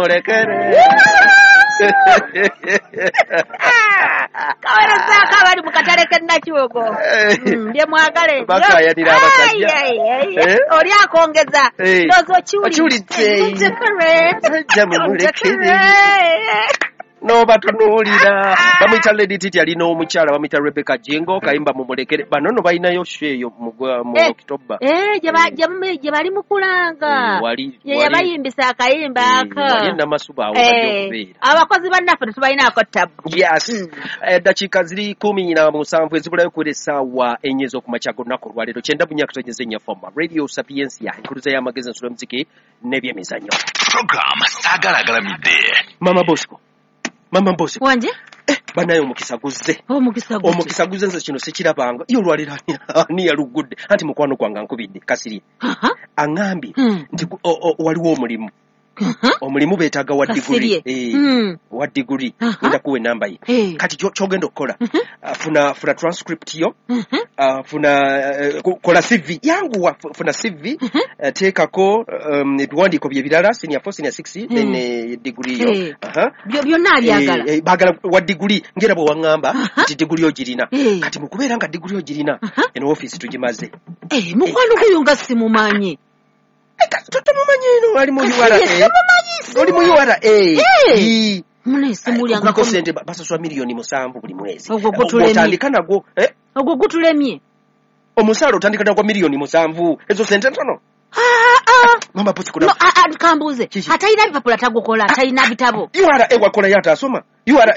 Mulekere. Kawerezaako abali mu katale k'e Nakiwogo. Bye mwagale. Bakayanira abasajja. Oli akongeza. Ndowooza okiwulidde. Sajja mumulekere. N'obatunuulira. Bamuyita Lady Titi, alina omukyala bamuyita Rebecca Jingo, kayimba mumulekere. Bano nno balinayo show eyo mu October. Gye bali mu kulanga. Ye yabayimbisa akayimba aka. Wali Namasuba awo bajja okubeera. Abakozi bannaffe tetubalinaako ttabu. Yes. Eddakiika ziri 17 ezibulayo kuwera essaawa 4 ez'okumakya g'olunaku olwaleero. 94.4 FM Radio Sapientia, enkuluza y'amagezi, ensolo y'omuziki n'ebyemizannyo. Program Saagala Agalamidde. Mama Bosco. Mama Bosco. Wanje? Banaye omukisa guzze. Omukisa guzze. Omukisa guzze, nze kino sikirabanga. Ye olwaleero ani yalugudde? Anti mukwano gwange ankubidde Kasirye. Aŋŋambye nti waliwo omulimu. Omulimu beetaaga wa diguli. Wa diguli. Ngenda kuwa ennamba ye. Kati ky'ogenda okukola, funa transcript yo, funa kola CV. Yanguwa, funa CV, teekako ebiwandiiko bye birala, senior 4, senior 6, then diguli yo. Byonna abyagala. Baagala wa diguli, ngera bwe waŋŋamba nti diguli ogirina. Kati mu kubeera nga diguli ogirina, eno ofiisi tugimaze. Mukwano guyo nga simumanyi. Tomumanyi eno, ali mu URA. Oli mu URA. Kuliko ssente, basasula 7 miliyoni buli mwezi. Ogwo gutulemye. Otandika nagwo. Ogwo gutulemye. Omusaala otandika nagwa 7 miliyoni. Ezo ssente ntono. Mama Bosco. No, kambuuze. Atalina bipapula tagukola, atalina bitabo? URA wakolayo atasoma? URA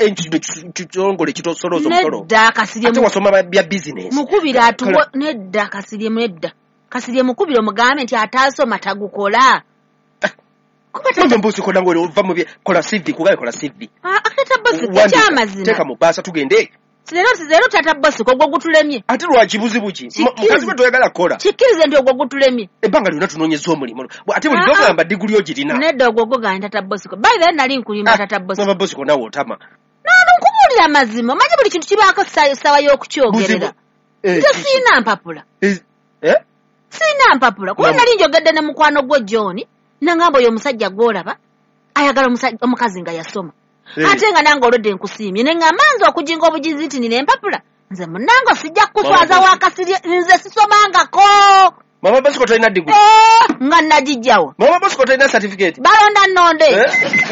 kitongole kitosolooza omusolo. Nedda Kasirye. Ate wasoma bya business. Mukubire atuwo. Nedda Kasirye, nedda. Kasirye mukubire omugambe nti ataasoma tagukola. Mama Bosco, nange ova mu bye, kola CV, kugaye kola CV. Tata Bosco, Wandika, ekyamazima. Teeka mu bbaasa tugende. Leero Tata Bosco, ogwo gutulemye. Ate lwaki, buzibu ki? Mukazi gwe toyagala kukola. Kikkirize nti ogwo gutulemye. Ebbanga lyonna tunoonyeza omulimu. Ate bulijjo ogamba diguli ogirina. Nedda, ogwo guganye Tata Bosco. By the way, nali nkulimba, Tata Bosco. Mama Bosco, naawe otama. Nano nkubuulira amazima. Omanyi buli kintu kibaako essaawa y'okukyogerera. Nze siina mpapula. Siina mpapula. Kuba nali njogedde ne mukwano gwo John, nangamba oyo omusajja gw'olaba ayagala omukazi nga yasoma. Ate nga nange olwedde nkusiimye, ne ŋŋamba nze okujinga obujizi nti nina empapula. Nze munnange sijja kukuswaza Mama wa Kasirye, nze sisomangako. Mama Bosco, tolina diguli? Nga nagijjawo. Mama Bosco, tolina certificate? Balonda nnonde.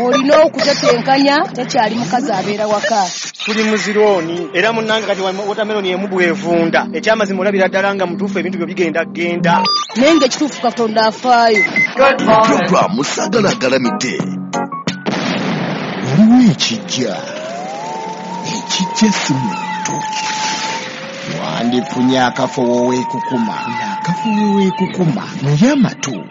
Olina okutetenkanya, tekyali mukazi abeera waka. Tuli mu zirooni era munnange, kati watermelon emu bwevunda. Ekyamazima olabira ddala nga mutuufu, ebintu byo bigenda genda. Naye nga ekituufu Katonda afaayo. Program Saagala Agalamidde. Waliwo ekijja, ekijja si muntu. Wandifunye akafo weweekukuma, ng'akafo weweekukuma naye amatu.